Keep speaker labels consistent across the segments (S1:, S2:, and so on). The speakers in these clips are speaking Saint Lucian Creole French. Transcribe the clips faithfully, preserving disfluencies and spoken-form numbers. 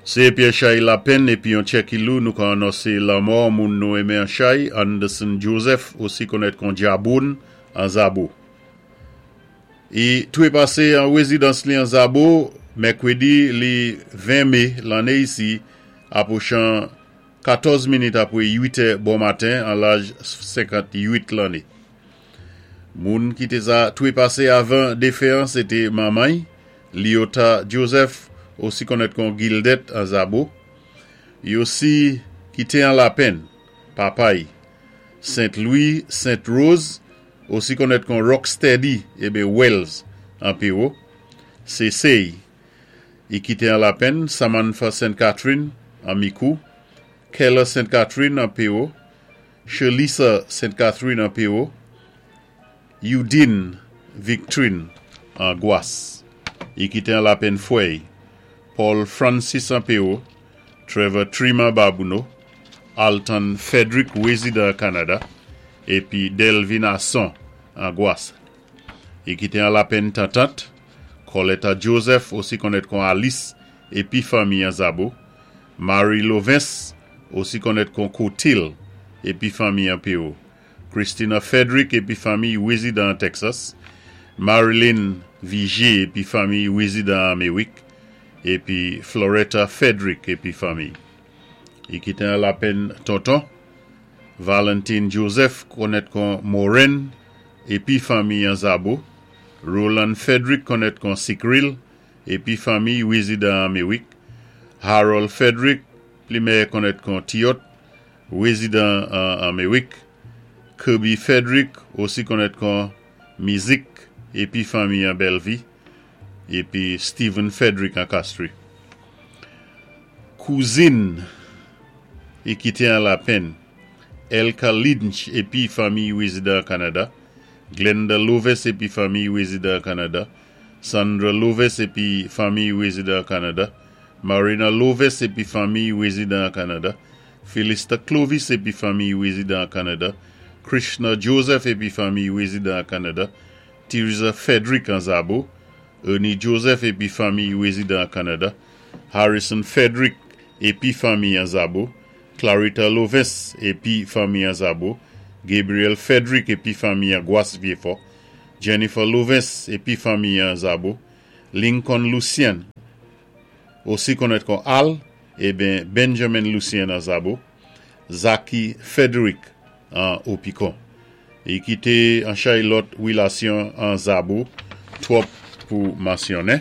S1: Sé Pierre Chay Lapenn épi yon Tchèkilou nou ka anonsé lanmò moun nou enmen an chay, Anderson Joseph, osi konnèt kon Djaboun an Zabo. I touwé pasé an wézidans li an Zabo, mèkwédi li ven mé lanné isi, apwochan katòz minit apwé uit è bon maten an laj senkant-uit lanné. Moun ki té sa touwé pasé avan défen an, sé té manman, Liota Joseph, osi konnèt kon Gildet an Zabo. I osi kité an lapenn, papay, Saint-Louis, Saint-Rose, osi konnèt kon Rocksteady ébi Wells an Péwo. Sé sé'y, i kité an lapenn, Samantha Saint Catherine an Mikou, Keller Saint Catherine an Péwo, Shelisa Saint Catherine an Péwo, Eudine Victrine an Gwas. I kité an lapenn fwè'y, Paul Francis an Péwo, Trevor Trima Babouno, Alton Frederick wézidan Kanada, épi Delvin Asson an Gwas. I kité an lapenn tantant, Coletta Joseph, osi konnèt kon Alice, épi fanmi an Zabo, Marie Lovens, osi konnèt kon Cotil, épi fanmi an Péwo, Christina Frederick épi fanmi wézidan Texas, Marilyn Vigier épi fanmi wézidan Améwik, épi Floretta Frederick épi fanmi. I kité an lapenn tonton, Valentine Joseph konnèt kon Moren épi fanmi an Zabo, Roland Frederick konnèt kon Sikril épi fanmi wézidan Améwik, Harold Frederick pli méyè konnèt kon Tiot, wézidan an Améwik, Kirby Frederick osi konnèt kon Mizik épi fanmi an Bellevue, épi Stephen Frederick an Castries. Kouzin i kité an lapenn, Elka Lynch épi fanmi wézidan Kanada, Glenda Loves épi fanmi wézidan Kanada, Sandra Loves épi fanmi wézidan Kanada, Marina Loves épi fanmi wézidan Kanada, Philista Clovis épi fanmi wézidan Kanada, Krishna Joseph épi fanmi wézidan Kanada, Teresa Frederick an Zabo, Ernie Joseph épi fanmi wézidan Kanada, Harrison Frederick épi fanmi an Zabo, Clarita Loves épi fanmi an Zabo, Gabriel Frederick épi fanmi an Gwas Vieux-Fort, Jennifer Loves épi fanmi an Zabo, Lincoln Lucien, osi konnèt kon Al, ében Benjamin Lucien an Zabo, Zaki Frederick an Opikon. I kité an chay lòt wilasyon an Zabo, twòp pou mansyonnen.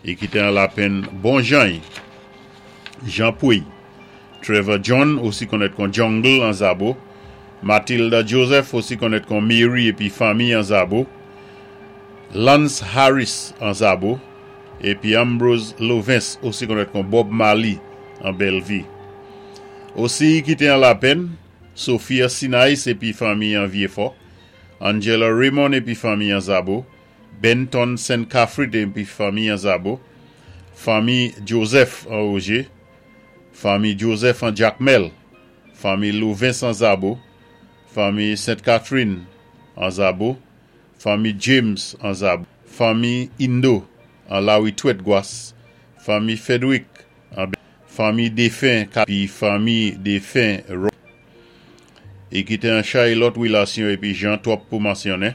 S1: I kité an lapenn bon jan, Jean Pouy, Trevor John, osi konnèt kon Jungle an Zabo, Matilda Joseph, osi konnèt kon Mary épi fanmi an Zabo, Lance Harris an Zabo, épi Ambrose Lovens, osi konnèt kon Bob Marley an Bellevue. Osi kité an lapenn, Sophia Sinais épi fanmi an Vieux-Fort, Angela Raymond épi fanmi an Zabo, Benton Saint Catherine épi fanmi an Zabo, fanmi Joseph an Roger, fanmi Joseph an Jacmel, fanmi Lovens an Zabo, fanmi Saint Catherine an Zabo, fanmi James an Zabo, fanmi Indo an Lawitwèt Gwas, fanmi Frederick an fanmi défen épi fanmi défen Ro. I kité an chay lòt wilasyon épi jan twòp pou mansyonnen.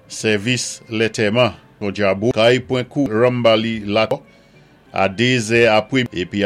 S1: Sèvis lantèman pou Djabo, kay pwen kou Rambali la a dézè apwé épi